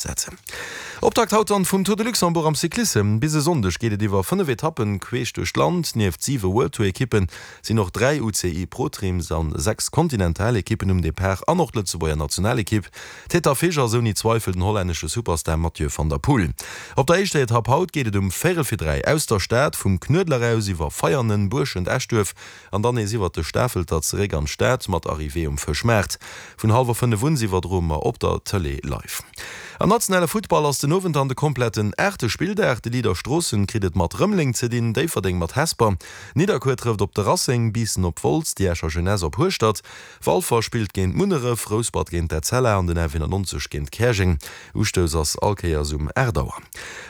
Setzen. Optakt haut dann vum Tour de Luxembourg am Cyclissem. Bis e Sonndeg geet et iwwer 5 Etappen queesch duerch d'Land. Nieft 7 World Tour Ekippen sinn och 3 UCI Pro Teams an 6 Kontinental Ekippen um Depart an och d'Lëtzebuerger Nationalekipp. Tête d'affiche ass ouni Zweifel den hollännesche Superstar Mathieu van der Poel. Op der éischter Etapp haut geet et um véirel fir 3 aus der Stad, vum Knuedler aus iwwer Veianen, Buerschent, Eschduerf An dann nees iwwert de Stafelter zeréck an d'Stad mat Arrivée um Fëschmaart. Vun hallwer 5 un iwwerdroe mer op der Tëlee live. Am nationale Futtball ass den Owend dann de kompletten aachte Spilldag. De Leader Stroossen kritt et mat Rëmeleng ze dinn, Déifferdeng mat Hesper, Nidderkuer trëfft op de Racing, Biissen op Wolz, déi Escher Jeunesse op Hueschtert, Walfer spillt géint Munneref, Rouspert géint d'Etzella an den F91 géint Käerjeng. Ustouss ass all Kéiers um 8 Auer.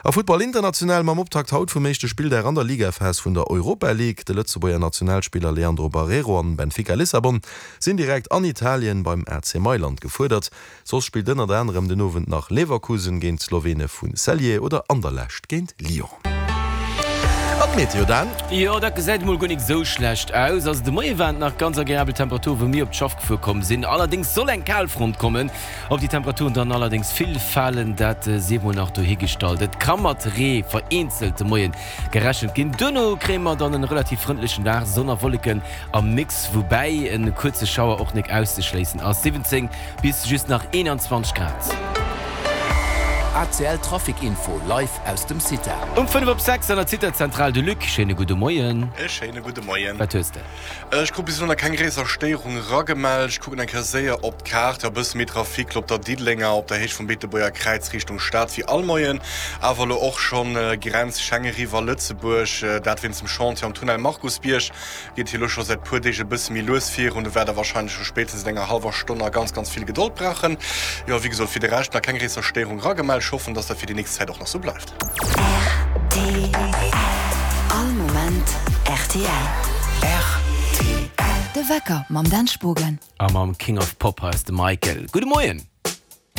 A Futtball international mam Optakt haut vum éischte Spilldag an der Ligaphas vun der Europa League. De Lëtzebuerger Nationalspiller Leandro Barreiro an Benfica Lissabon sinn direkt an Italien beim AC Mailand gefuerdert. Soss spillt ënnert anerem den Owend nach Leverkusen géint d'Slowene vu Celje oder Anderlecht géint Lyon. An d'Meteo, Dan? Jo, dat gesäit emol guer nik esou schlecht aus. Also de Moie waren et nach ganz agreabel Temperaturen, wou mir op d'Schaff gefuer komm sinn. Allerdéngs soll eng Kalfront kommen. Ob déi Temperaturen dann allerdéngs vill falen, dat sief mol nach dohigestallt. Et ka mat Ree vereenzelt de Moie gerechent ginn. Duerno kréie mer dann en relativ frëndlechen Dag, Sonn a Wolleken am Mix, woubäi en kuerze Schauer och nik auszeschléissen ass. 17 bis just nach 21 Grad. ACL Trafic Info live aus dem CITA. Um 5 op 6 an der CITA-Zentral de Luc, schéine gudde Moien. E schéine gudde Moien. Wat hues de? Ech krut bis elo nach keng gréisser Stéierung eragemellt. Ech kucken eng Kéier séier op d'Kaart. Jo, e bësse méi Trafic lo op der Diddelenger, op der Héicht vum Beetebuerger Kräiz Richtung Stad wéi all Moien. Awer elo och schonn Grenz Schengen-Riwwer Lëtzebuerg, dat wéinst dem Chantier am Tunnel Markusbierg. Geet hie lo scho säit puer Deeg e bësse méi lues virun. Do wäert der warscheinlech scho spéitstens an enger hallwer Stonn nach ganz, ganz vill Gedold brauchen. Jo, wéi gesot, fir de Rescht nach keng gréisser Stéierung eragemellt. Ech hoffen, dass dat fir déi nächst Zäit och nach sou bleift. Rtl. All Moment rtl. Rtl. De Wecker mam Dan Spogen. A mam King of Pop hei ass de Michael. Gudde Moien.